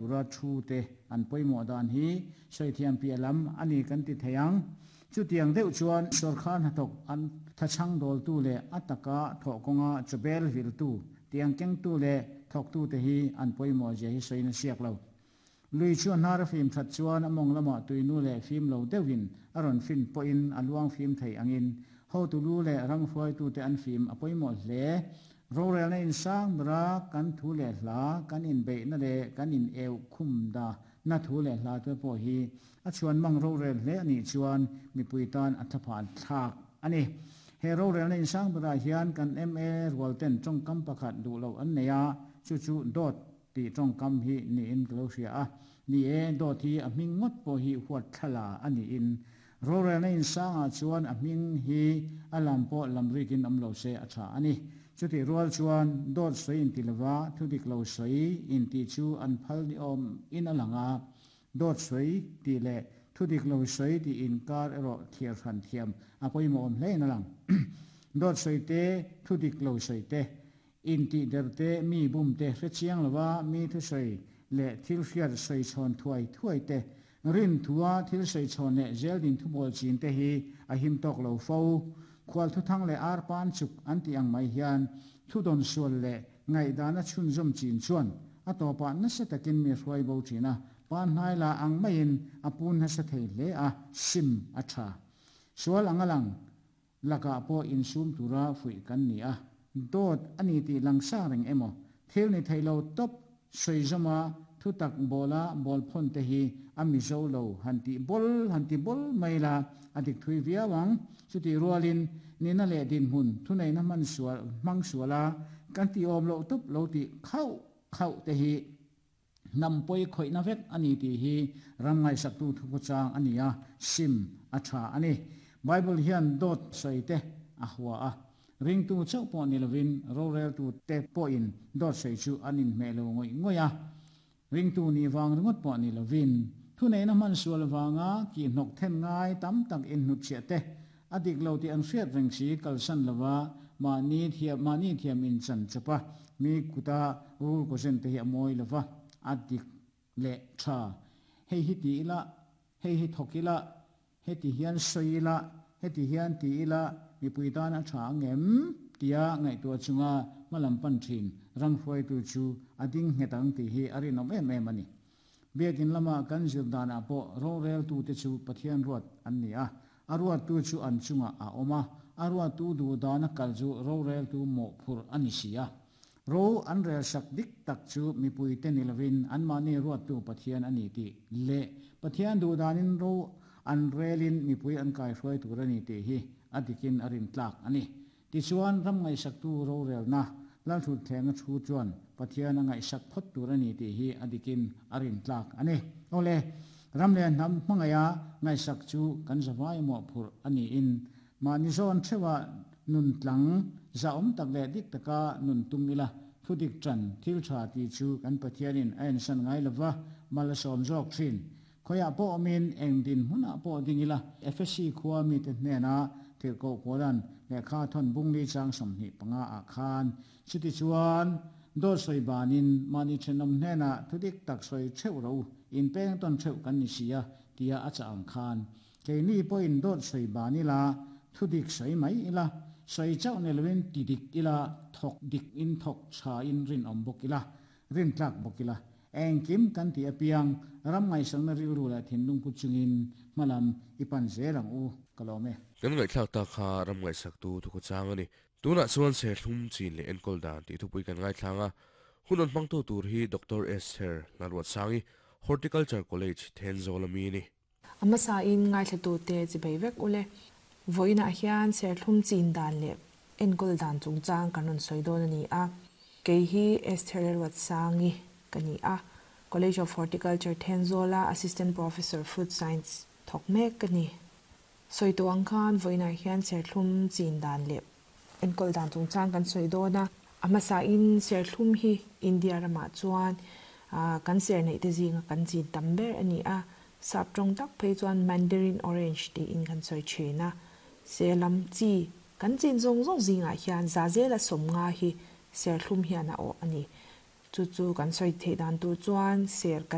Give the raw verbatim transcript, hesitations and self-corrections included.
Tura thu te an pawimawh dan hi sawi thiam piah lam a ni kan ti thei ang. Chutiang deuh chuan sawrkar hnathawk an thachhang dawltu leh a taka thawh kawnga chawbel viltu tiang kengtu leh thawktu te hi an pawimawh zia hi sawiin a siak lo. Lui chu a hnar a fim that chuan a mawng lamah tuinu leh fim lo deuhin a rawn fin pawhin a luang fim thei angin hotu lu leh ram hruaitute an fim a pawimawh hle. Rorelna insang bera kan thu leh hla kan inbeihna leh kan in eu khum da na thu leh hla te pawh hi a chhuan mang rorel hle a nih chuan mipui tan a thaphan thlak a ni. He rorelna insang berah hian kan M A rual ten tawngkam pakhat duh loh an nei a, chu chu dawt tih tawngkam hi niin ka lo hria a. Ni e, dawt hi a hming ngawt pawh hi huat thlala a niin rorelna insangah chuan a hming hi a lam pawh lam rikin awm lo se a tha a ni. Chutih rual chuan dawt sawi inti lova thu dik lo sawi inti chu an phal ni awm in a lang a, dawt sawi tih leh thu dik lo sawi tih inkar erawh thliar hran thiam a pawimawh awm hle in a lang. Dawt sawi te, thu dik lo sawi te, intih der te, mi bum te hre chiang lova mi thu sawi leh thil hriat sawi chhawn thuai thuai te, rin thua thil sawi chhawn leh zel din thu bawl chin te hi a him tawk lo fo. Khual thu thang leh ar pan chuk an tih ang mai hian thu dawn sual leh ngaihdana chhunzawm chin chuan a tawpah nasa takin mi hruai bo thin a, pan hnai la ang maiin a pun nasa thei hle a, sim a tha. Sual ang a lang lakah pawh insum tura fuih kan ni a, dawt a ni tih langsa reng emaw thil ni thei lo tawp sawi zawma thu tak bawla bawl phawn te hi a mizo lo han tih bawl han ti bawl mai la a dik thui viau ang. Chutih rualin nina leh dinhmun thu neihna hman sual hmang suala kan ti awm loh tawp lo tih khauh khauh te hi hnam pawi khawihna vek a ni tih hi ram ngaihsaktu thu khawchang a ni a, sim a tha a ni. Bible hian dawt sawi te a hua a, ringtu chauh pawh ni lovin roreltu te pawhin dawt sawi chu an inhmeh lo ngawih ngawih a, ringtu ni vang ringawt pawh ni lovin thu neihna hman sual vanga ki hnawk then ngai tam tak inhnut chhiah te a dik lo tih an hriat reng si kalsan lova mahni thiam mahni thiam in chan chawpa mi kuta rul ko zen te hi a mawi lova a dik leh tha. Hei hi ti ila, hei hi thawk ila, heti hian sawi ila, heti hian ti ila mipui tan a tha angem tia ngaihtuah chunga hmalam pan thin ram hruaitu chu a ding nghet ang tih hi a rinawm em em a ni. Biakin lama kan zir danah pawh roreltu te chu Pathian ruat an ni a, a ruattu chu an chunga a awm a, a ruattu duh dana kal chu roreltu mawh phur a ni si a. Ro an rel sak dik tak chu mipui te ni lovin an mahni ruattu Pathian a ni tih leh Pathian duh danin ro an relin mipui an kai hruai tur a ni tih hi a dikin a rin tlak a ni. Tichuan ram ngaihsaktu rorelna lalthut thlenga thu chuan Pathian a ngaihsak phawt tur a ni tih hi a dikin a rin tlak a ni. Awle, ram leh hnam hmangaia ngaihsak chu kan zawai mawh phur a niin mahni zawn thewa nun tlang za awm tak leh dik taka nun tum ila thu dik tran thil tha ti chu kan Pathianin a ensan ngai lova mal a sawm zawk thin. Khoiah pawh awmin eng din hmunah pawh ding ila F S C khua mi te hnena thil ko pawlan lehkha thawn bungli chang sawmhnih panga ah khan chuti chuan dawt sawi banin mahni thenawm hnena thu dik tak sawi theuh ro in peng tawn theuh kan ni si a tia a cha ang khan keini pawhin dawt sawi ban ila thu dik sawi mai ila sawi chauh ni lovin ti dik ila thawk dik in thawk tha in rin awm bawk ila rin tlak bawk ila engkim kan ti apiang ram ngaihsakna rilru leh thinlung pu chungin hmalam i pan zel ang u ka lo me. Kan ngaihthlak ta kha ram ngaihsaktu thu khawchang a ni. Tunah chuan serthlum chin leh enkawl dan tih thupui kan ngaithlanga hun an hmangtu tur hi Doctor Esther Lalruatsangi Horticulture College Thenzawl ami ni. Ama sa in ngaithlatu te chi bei vek ule voina hian serthlum chin dan leh enkawl dan chungchang kan rawn sawi dawn a ni a. Kei hi Esther Lalruatsangi ka ni a, College of Horticulture Thenzola Assistant Professor Food Science thawk mek ka ni. Sawi tu ang khan voina hian serthlum chin dan leh enkawl dan chungchang kan sawi dawn a. Ama sa in serthlum hi India rama chuan kan ser nei te zinga kan chin tam ber a ni a. Sap tawng tak phei chuan Mandarin Orange ti in kan sawi thin a. Selam chi kan chin zawng zawng zingah hian za zela sawm nga hi serthlum hian a awh a ni. Chu chu kan sawi theih dan tur chuan ser kan